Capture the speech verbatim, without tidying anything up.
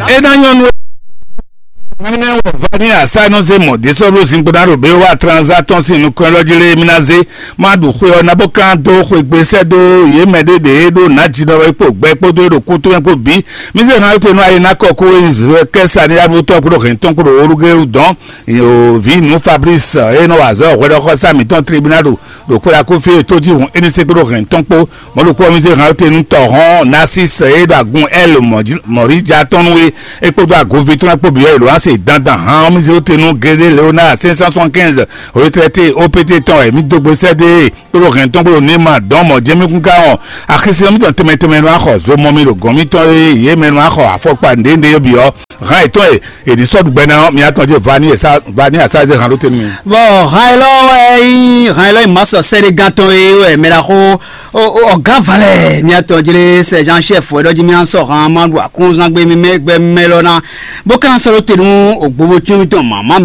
É ná nyɔ́ nú mínɛ́ wɔ va ní asá nɔ zé mɔ̌ dé sɔ́ ɖó zinkpo ná ɖo bé wá tranza tɔn sín nukɔn élɔ́ jí lé mí ná zé má ɖu xwe ɔ́ ná bó kán dó xwegbe sɛ́ dó yě mɛ ɖé ɖě ɖó nǎjínɔ é kpo gbɛ kpódó é ɖo kútú mɛ kpó bǐ. Mí zé hán te nú ayi ná kɔ kó é zɔ kɛ́ sa ní yá bó tɔ́ kpódó hɛn tɔn kpódó wóɖúgé dɔn. Yo, vi nú Fabrice, e nɔ wa azɔ̌ hwɛɖɔxɔsá mǐtɔn tribunal ɖo ɖo kpóɖa kó fí e tójihún é ní sɛ́ kpódó hɛn tɔn kpó. Mɔ̌ ɖokpó ɔ́, mí zé hǎn te nú tɔ̌hɔn Narcisse e ɖo agun L mɔ̌ríja tɔn nú é, é kpódó agunví tɔn lɛ́ɛ kpó bǐ wɛ è ɖǒ wá se dandan hǎn ɔ́, mí zé te nú Gédé Léonard cinq cent soixante-quinze retraité O P T tɔn wɛ mí dó gbe sɛ́ dó e kpódó hɛn tɔn kpódó ní ma dɔn mɔ̌ jɛ́n mí kún ká ɔ́. Axisí ɔ́ mítɔn tɛnmɛ tɛnmɛ nɔ axɔ zo mɔ mi ɖo gɔ̌n mítɔn e yě mɛ nɔ axɔ afɔkpa nǔɖé nǔɖé bǐ ɔ́, hǎn yětɔn e è ɖi sɔ́ ɖu gbɛ ná ɔ́, mi atɔn jɛ va ní sa va ní asá zé hǎn ɖó te nú mi. Bɔ hǎn élɔ́ wɛ nyí hǎn élɔ́ nyí mǎsɔ sɛ́ɖégán tɔn e wɛ mɛ ɖaxó ɔgá valɛ mi atɔn jlé sɛjan chef wɛ ɖɔ jí mi asɔ hǎn ma ɖu akúnzán gbé mi mɛ gbɛ mɛ lɔ ná bó ka sɔ́ ɖó te nú ògbóbó cyɔ́n mitɔn mǎmá mɛ